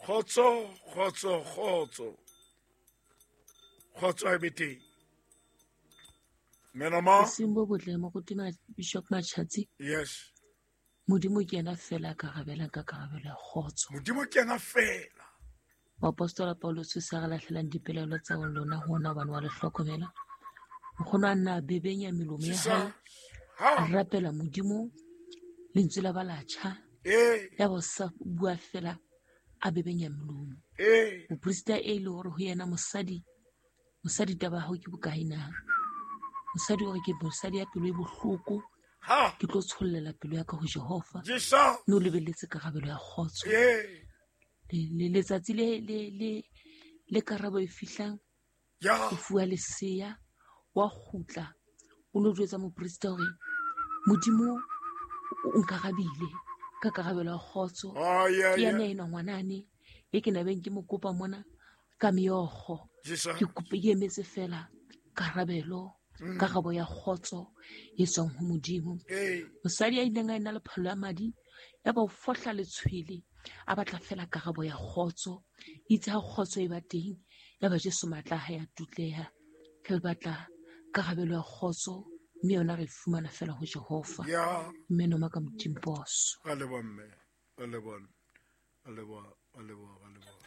Kgotso, kgotso, kgotso. Kgotso a e be teng. Menoma. Bosing bo botle moruti Bishop Machatsi. Yes. Modimo ke yena fela a ka rabelang ka karabelo ya kgotso. Modimo ke yena fela. Moapostola Paulus o se a re lahlelang dipelaelo tsa lona ho ona hobane wa le hlokomela. Nkgono a nna a bebenya melomo ya hae. A rapela Modimo lentswe la ba la tjha. Ya ba sa bua fela a bebenya melomo. Moprista e le hore ho yena mosadi mosadi taba ya hao ke bokae na? Mosadi o re ke mosadi ya pelo e bohloko. Ke tlo tshollela pelo ya ka ho Jehova. Mme o lebelletse karabelo ya kgotso. Letsatsi le le le le karabo e fihlang o fuwa leseya wa kgutla o lo jwetsa moprista hore Modimo o nkarabile ka karabelo ya kgotso. Ke yena enwa ngwanane e ke nabeng ke mo kopa mona ka meokgo. Ke kope ke emetse fela karabelo karabo ya kgotso e tswang ho Modimo. Mosadi a ileng a ena le phallo ya madi ya ba o fohla letshwele a batla fela karabo ya kgotso. Itse ha kgotso e ba teng ya ba Jesu matla a hae a tutleha. Re batla karabelo ya kgotso mme yona re fumana fela ho Jehova. Mme noma ka Modimo boso. Ra leboha mme. Ra leboha. Ra leboha, ra leboha, ra leboha.